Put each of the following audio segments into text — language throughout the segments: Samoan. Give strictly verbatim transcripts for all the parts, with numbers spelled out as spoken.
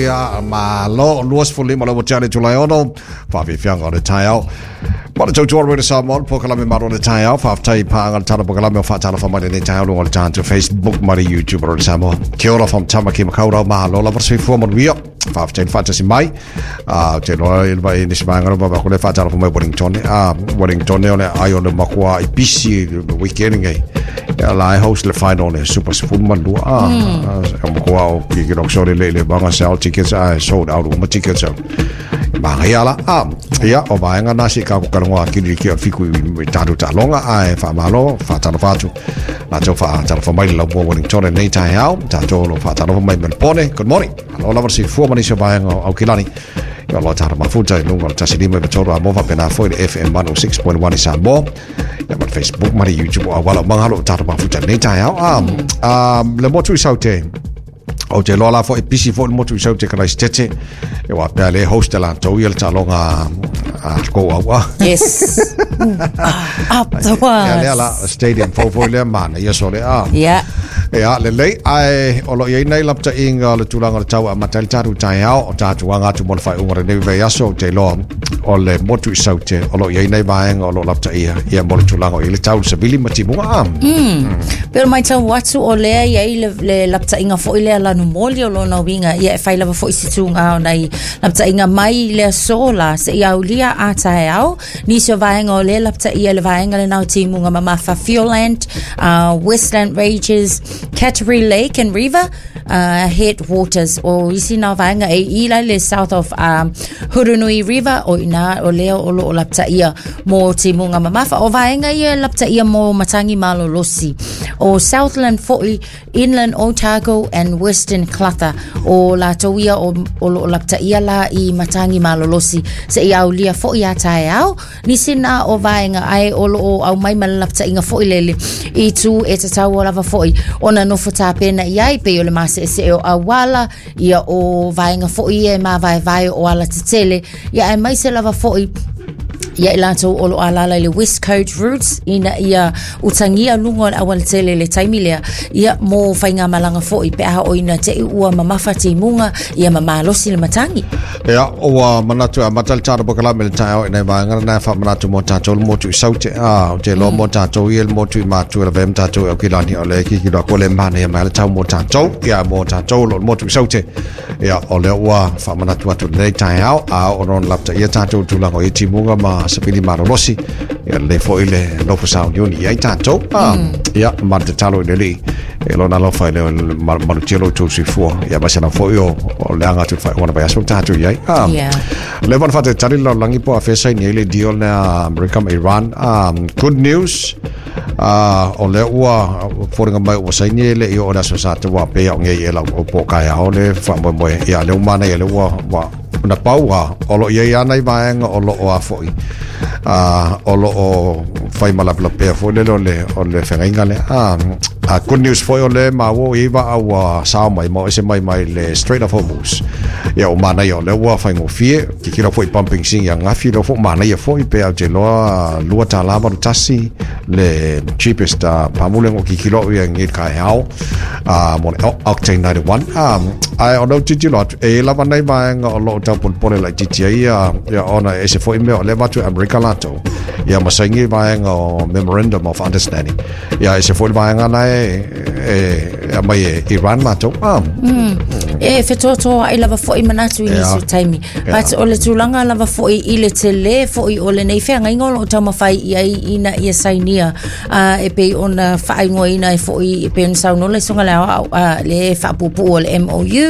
Ia malo luasefulu lima le ua tea le itula e ono faafiafiaga o le taeao. Ma le tautua Radio Samoa, polokalame malo le taeao. Faafetai paaga le tala polokalame o faatalofa mai lenei taeao luga o le tatou Facebook ma le YouTube o le Samoa. Kia ora from Tamaki Makaurau, malo lava le soifua manuia. Faafetai le faatasi mai. Ah, te loa i le vai nisi vaega ba ko le faatalofa mai Wellington. Ah, Wellington o le ai o le makua i pisi le weekend ngai. Ia la e host le final le Super Sefulu ma Lua. Ah, o makua o ki ki sore le le banga sell tickets ai sold out uma tickets. Magaia la. Ah, ia o vaega na si ka ko kalongo a kiri ki o fiku i tātou taaloga ae faamalo faatalofa atu latou faatalofa mai le laumua Wellington lenei taeao tatou lo faatalofa mai Melbourne. Good morning, alo lava le soifua ma nisi o vaega o Aukilani ia lo tātou mafuta i luga o le tasi lima i tolu a mo faapena foi le F M one oh six point one i Samoa ia ma le Facebook ma le YouTube o auala o magalo o tātou mafuta lenei taeao. Ah, ah, le motu i Saute o te loa la foi pisi foi le motu i Saute Karaisitete e wa pea le host la tau ia le taaloga a kou au a. Yes. Up the Ia lea la was. stadium fou foi lea mana ia so le a. Yeah. Ia lelei ae o lo iai nei lapataiga o le tulaga o le tau amata ai le tatou taeao o tatou aga atu mo le faaiuga o lenei vaiaso. O te iloa o le motu i Saute o lo iai nei vaega o lo o lapataia ia mo le tulaga o i le tau le savili ma timuga a. Pero mai tau atu o lea i ai le, le lapataiga foi lea lanu moli o lona uiga ia e fai lava foi si tūga o nai lapataiga mai le aso la seia aulia a taeao nisi o vaega o lea lapataia le vaega lena o timuga mamafa Fiordland, uh, Westland Ranges, Canterbury Lake and River uh, Headwaters o isi na vaega e i la le south of um, Hurunui River o ina o lea o lo o lapataia mo timuga mamafa o vaega ia lapataia mo matagi malolosi o Southland foi, Inland Otago and Western Clutha o latou ia o, o lo o lapataia la i matagi malolosi seia aulia foi a taeao nisi na o vaega ai o lo o au mai ma le lapataiga foi lele i tu e tatau o lava foi ona nofo tapena i ai pei o le maseese o auala ia o vaega foi ia e mavaevae o ala tetele ia aemaise lava foi ia i latou o lo alala i le West Coast Routes ina ia utagia luga o le aualatele le taimi lea ia mo faigamalaga foi pe a o ina te i ua mamafa timuga ia ma malosi le matagi. Ia ua manatu amata le tatou polokalame le taeao i nai vaega na faamanatu mo tatou le motu i Saute a o te loa mo tatou ia le motu i Matu e lavea ma tatou i Aukilani o le kikilo aku le manaia mai le tau mo tatou ia mo tatou lo le motu i Saute ia o lea ua faamanatu atu lenei taeao a o lona lapataia tatou tulaga o ia timuga ma savili malolosi ia lelei foi le nofo sauniuni i ai tatou a ia ma le tatalo i le Alii e lona alofa i le malutia lo outou soifua ia masana foi o o le aga atu le faaiuga o le vaiaso tatou i ai a. Yeah. Le wana whate tali lalolagi po a fesa ni le deal na Amerika ma Iran. Um, good news. Uh, o lea ua foliga mai ua saini e le i o le aso sa te ua pe au ngei e lau o po kai ao le wha ia le umana ia le ua ua na pau a o lo ia ia nei vaega o lo o a foi uh, o lo o whai malapelapea foi le o le o le whengainga le ah uh, good news foi o le ma wo i va au uh, sao mai mo ese mai mai le Strait of Hormuz ia o mana ia o le ua whaingofie ki kira foi pumping sing ia ngafi lo fo mana ia foi pe au te loa lua tālā valu tasi le cheapest uh, pamule o ki kilo ia ngi kai hao uh, mo le Octane ninety-one um, ai o no titilo atu e lava nei vaega o lo o tau polepole lai titi ai ia ia ona e se foi mea o le vatu Amerika latou ia ma saini vaega o Memorandum of Understanding ia e se foi vaega na e e e mai e Iran latou um, E fetoatoa ai lava foi manatu i nisi o taimi. But o le tulaga lava foi i le tele foi o lenei feagaiga o loo taumafai i ai ina ia sainia uh, e pei ona faaigoaina ai foi e pei ona saunoa le susuga le aoao uh, le faapuupuu o le M O U,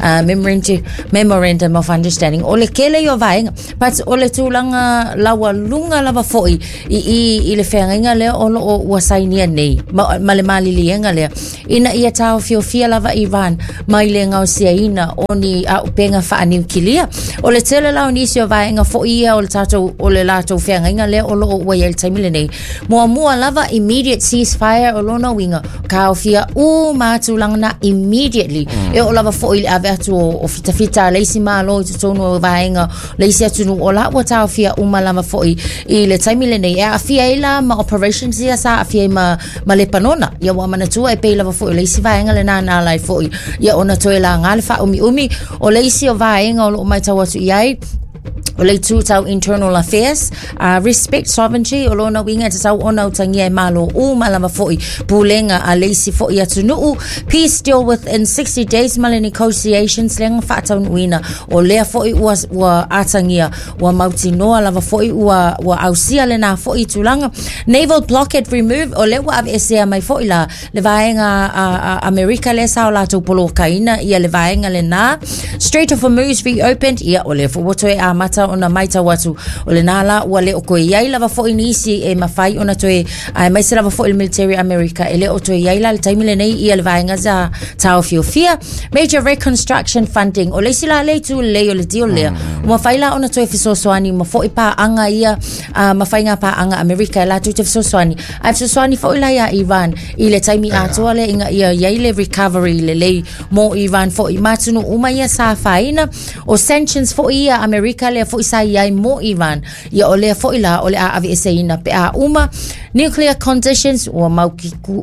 uh, Memorandum, Memorandum of Understanding o le kele i o vaega. But o le tulaga laualuga lava foi i, i, i le feagaiga lea o loo ua sainia nei ma, ma le maliliega lea ina ia taofiofia lava Iran mai le gaosiaina o ni auupega faaniukilia o le tele la o nisi o vaega foi ia o le tatou o le latou feagaiga lea o loo ua i ai le taimi lenei. Muamua lava, immediate ceasefire o lona uiga taofia uma tulaga na immediately mm. e oo lava foi le ave atu o, o fitafita a le isi malo i totonu o vaega le isi atunuu o la ua taofia uma lava foi i le taimi lenei e aafia ai la ma operations ia sa aafia ai ma, ma Lepanona ia ua manatua e pei lava foi o le isi vaega lena na alai foi ia ona toe la gā le whaumi umi o le isi o vaenga o loo mai tau atu iai o le itu tau internal affairs, uh, respect sovereignty, o lona uiga e tatau ona utagia e malo uma lava fo'i pulega a le isi fo'i atunuu, peace deal within sixty days ma le negotiations lega faataunuuina o lea fo'i ua, ua atagia ua mautinoa lava fo'i ua, ua ausia lenā fo'i tulaga, naval blockade remove, o lea ua aveesea mai fo'i la le vaega Amerika lea sa o latou polokaina ia le vaega lenā, Strait of Hormuz reopened, ia o lea fo'i ua toe amata ona maitau atu o lenā la ua le o koe iai lava fo'i nisi e mafai ona toe aemaise lava fo'i le military America e le o toe iai la le taimi lenei ia le vaega sa taofiofia, major reconstruction funding, o le isi la le itu lelei o le deal lea ua mafai la ona toe fesoasoani ma fo'i paaga ia uh, ma faiga paaga Amerika e latou te fesoasoani ae fesoasoani fo'i la ia Iran i le taimi atoa lea ina ia iai le recovery lelei mo Iran fo'i ma atunuu uma ia sa afaina o sanctions fo'i ia Amerika lea fo'i sa iai mo Iran ia o lea fo'i la o le a aveeseina pe a uma nuclear conditions ua mau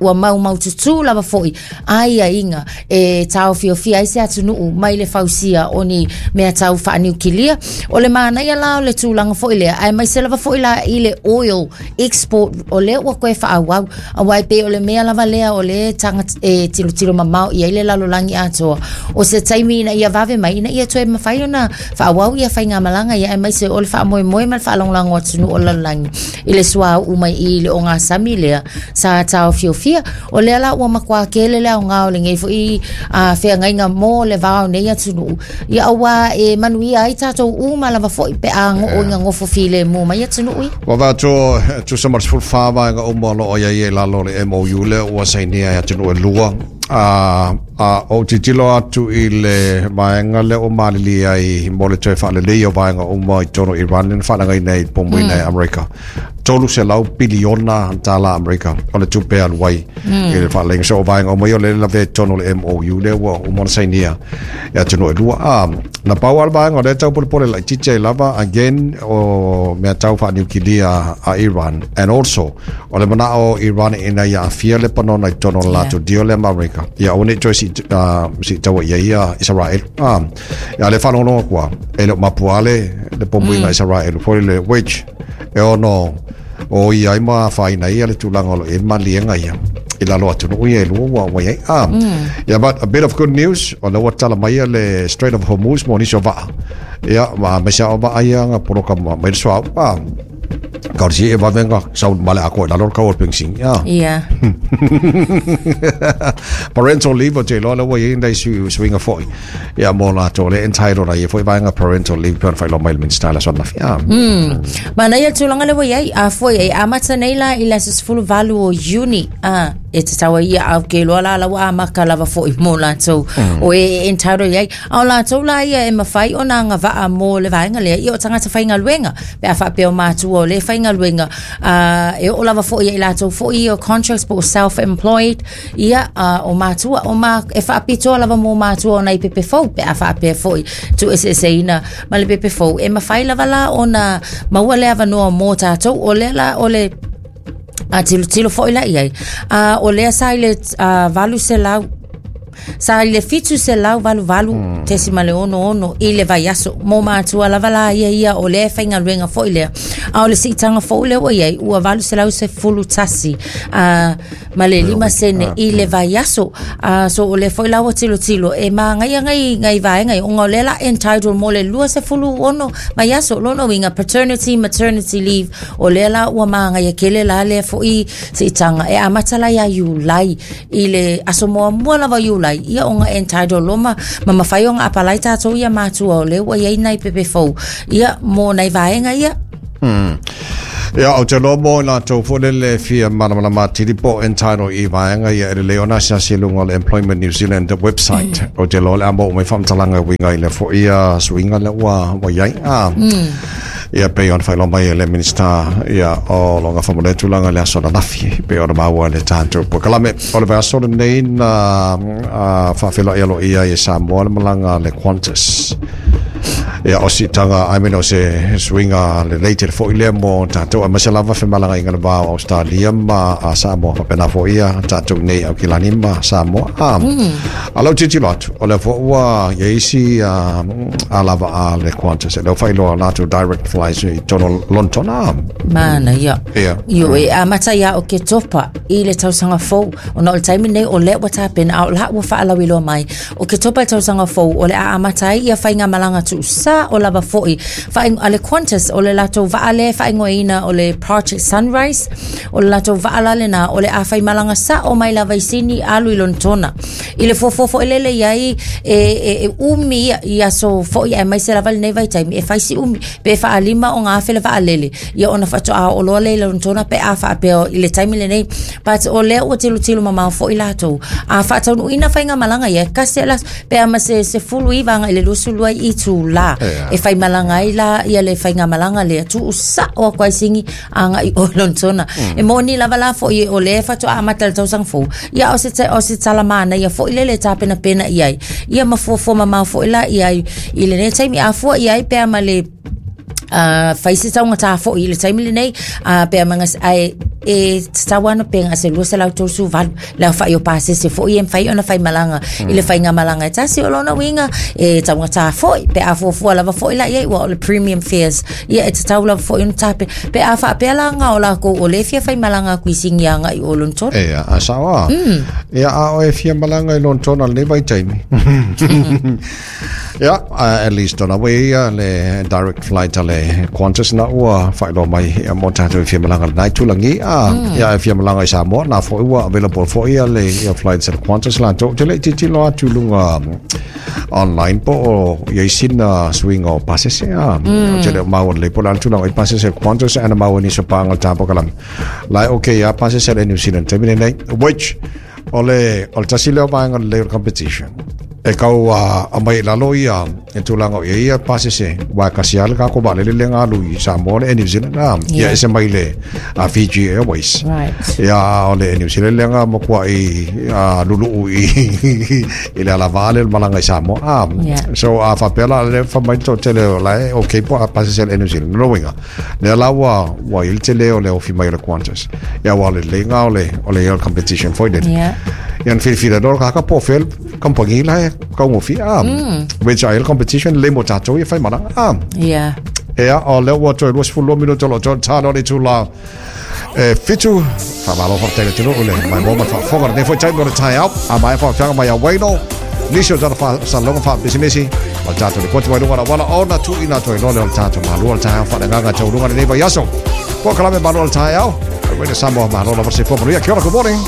ua mau maututū lava fo'i aiaiga e taofiofia ai se atunuu mai le fausia o ni mea tau faaniukilia o le manaia la o le tulaga fo'i lea aemaise lava fo'i la i le oil export o lea ua koe faaauau auā e pei o le mea lava lea o le taga e tilotilo mamao i ai le lalolagi atoa o se taimi ina ia vave mai ina ia toe mafai ona faaauau ia faigamalaga ia aemaise o le faamoemoe ma le faalagolago atunuu o le lalolagi i le suauu mai i le ogasami lea sa taofiofia o lea la ua makuā kele le aogā o lenei fo'i feagaiga mo le va o nei atunuu ia auā e manuia ai tatou uma lava fo'i pe a goo ina gofo filemu mai atunuu ia. Ua vaatu tusa ma le sefulu fa vaega uma o loo iai e lalo o le M O U lea ua sainia e atunuu e lua. A a o tilotilo atu i le vaega lea ua malilie ai mo le toe faalelei o vaega uma i totonu o Iran lea na faalagaina ai pomuina e Amerika. Tolu selau piliona tala Amerika o le tupe alu ai i le faaleleiga. So o vaega uma ia o le lavea i totonu o le M O U lea ua uma ona sainia e atunuu e lua. A na pau lava le vaega o lea tau polepole laitiiti ai lava again o mea tau faaniukilia a Iran and also o le manao o Iran ina ia aafia le panona i totonu o le latou deal lea ma Amerika. Ia aua nei toe siitaua ia ia Israel. A ia le faalogologo atu e le o mapua le le pomuiga Israel foi le which e ono o ia ai ma afaina ia le tulaga o lo o i ai maliega ia i lalo atunuu ia e lua ua ua iai. A ia but a bit of good news o lea ua tala mai ia le Strait of Hormuz mo nisi o vaa. Ia ma aemaise lava o vaa ia ga poloka mai le suauu. A ka o le siia e vave ga sau ma le atoa i lalo le kau o le penisini. A Ia. Parental leave o te iloa lea ua iai nai suiga fo'i ia mo latou o lea entitled ai ia fo'i vaega parental leave pe ona faailoa mai le Minista i le aso ananafi. A Manaia le tulaga lea ua iai a foi e amata nei la i le aso sefulu valu o Iuni a e tatau ai ia au ke loa la la ua amaka lava fo'i mo latou o e entitled iai a o latou la ia e mafai ona agavaa mo le vaega lea ia o tagata faigaluega pe a faapea o matua o le faigaluega a e oo lava fo'i ia i latou fo'i o contracts po o self employed ia uh, o matua o ma e faapitoa lava mo matua o nai pepe fou pe a faapea fo'i tuueseeseina ma le pepe fou e mafai lava la ona maua le avanoa mo tatou o lea la o le a tilotilo fo'i la iai a o lea sa i le uh, valu selau sa i le fitu selau valu valu tesima le ono ono i le vaiaso mo matua lava la ia ia o lea faigaluega fo'i lea a o le siitaga fou lea ua iai ua valu selau sefulu tasi uh, ma le lima sene i le vaiaso uh, so o lea fo'i la ua tilotilo e magaia ngai ngai vaega ona o lea la entitled mo le lua sefulu ono vaiaso lona uiga paternity maternity leave o lea la ua magaia kele la lea fo'i siitaga e amata la ia Iulai i le aso muamua lava Iulai ia ona entitled loma ma mafai ona apalai tatou ia matua o lea ua iai nai pepe fou ia mo nai vaega ia. Hmm. Ia o te loa mo i latou foi le le fia malamalama atili po o entitled i vaega ia e lelei ona asiasi i luga o le Employment New Zealand website. O te loa o le a maua mai faamatalaga e uiga i le fo'i ia suiga lea ua ua iai. A ia pei ona faailoa mai e le Minista ia o lo gafa ma lea tulaga i le aso ananafi pei ona maua i le tatou polokalame. O le vaiaso lenei na faafeiloai aloaia ai e Samoa le malaga a le Qantas. Ia o siitaga I mean o se suiga lelei tele foʻi lea mo tatou aemaise lava femalagaiga le va o Australia ma a Samoa faapena foʻi ia tatou nei Aukilani ma Samoa a a lau tilotilo atu o lea foʻi ua iai isi a lava a le Qantas e leo faailoa latou direct flights i totonu o Lonetona. Mana ia. Ia. Io e amata ia Oketopa i le tausaga fou ona o le taimi nei o lea ua tapena a o la ua faalauiloa mai Oketopa i le tausaga fou o le a amata ai ia faigamalaga tuusa o lava foʻi Faaigo- a le Qantas o le latou vaa lea e faaigoaina o le Project Sunrise o le latou vaa la lena o le a faimalaga sao mai lava i Sini alu i Lonetona i le fuafua foʻi lele iai e, e, e umi ia i aso foʻi aemaise lava lenei vaitaimi e fai si umi pe faalima o gafe le vaalele ia ona faatoa oo loa lea i Lonetona pe a faapea i le taimi lenei but o lea ua tilotilo mamao foʻi latou a faataunuuina faigamalaga ia e kasi la pe a ma se sefulu iva agai le luasulu ai itulā Ia. e faimalaga ai la ia le faigamalaga lea tuusao aku ai Sini agai o Lonetona e moni lava la foʻi o lea faatoa amata le tausaga fou ia o se o se talamana ia foʻi lele e tapenapena i ai ia ma fuafua mamao foʻi la i ai i lenei taimi a fua i ai pe a ma le uh, fai se taugata foʻi i le taimi lenei uh, pe a maga ai e tatau ana pe ga se lua selau tolusefulu valu le aofaʻi o pasese foʻi e mafai ona faimalaga i le faigamalaga e tasi o lona uiga e taugata foʻi pe a fuafua lava foʻi la iai ua o le premium fares ia e tatau lava foʻi ona tape pe a faapea laga o lakou o lē fia faimalaga aku i Sini agai o Lonetona. Ia a sao a ia a o e fia malaga i Lonetona lenei vaitaimi ia uh, at least ona ua ia le direct flight a le Qantas na ua faailoa mai ia mo tatou e fia malaga lenai tulagi a ia e fia malaga i Samoa na foʻi ua available foʻi ia le ia flights a le Qantas latou te le tilotilo atu luga online po o iai sina suiga o pasese a o te le o maua lelei po o le a le tulaga i pasese Qantas ana maua nisi o paga o le tapokalaga la e okay ia pasese le New Zealand taimi lenei which o le o le tasi lea o vaega lelei o le competition e kau a uh, mai lalo ia e tulaga o ia ia pasese wa kasi ale ka ko ba le le ngalu i Samoa le New Zealand a ia Yeah. ese mai le a Fiji Airways Right. ia o le New Zealand le nga mo kwa i a lulu i i le ala vale le malaga i Samoa a Yeah. so a fa pela le fa mai to tele o la e okay po a pasese le New Zealand no winga le la wa wa il tele o le ofi mai le Qantas ia wa le le nga o le o le ia competition foi le Yeah. ia filifili loa ka ka po fel kampangi la e kaugofi a which ai le competition le mo tatou ia faimalaga a Yeah. ea o lea ua toe luasefulu lua minuto o loo toe tano le itulā e fitu faamalo faafetai le atunuu le maimoa ma le faafofoga lenei foi taimi o le taeao a maea faaofiaga mai a Waino nisi o tala faasalalouga faapisimisi o le tatou lipoti mai luga lauala ona tuuina atu ai loa lea o le tatou malua le taeao faaleagaga tauluga lenei vaiaso polokalame malo o le taeao Radio Samoa malo lava se fua manuia. Kia ora, good morning.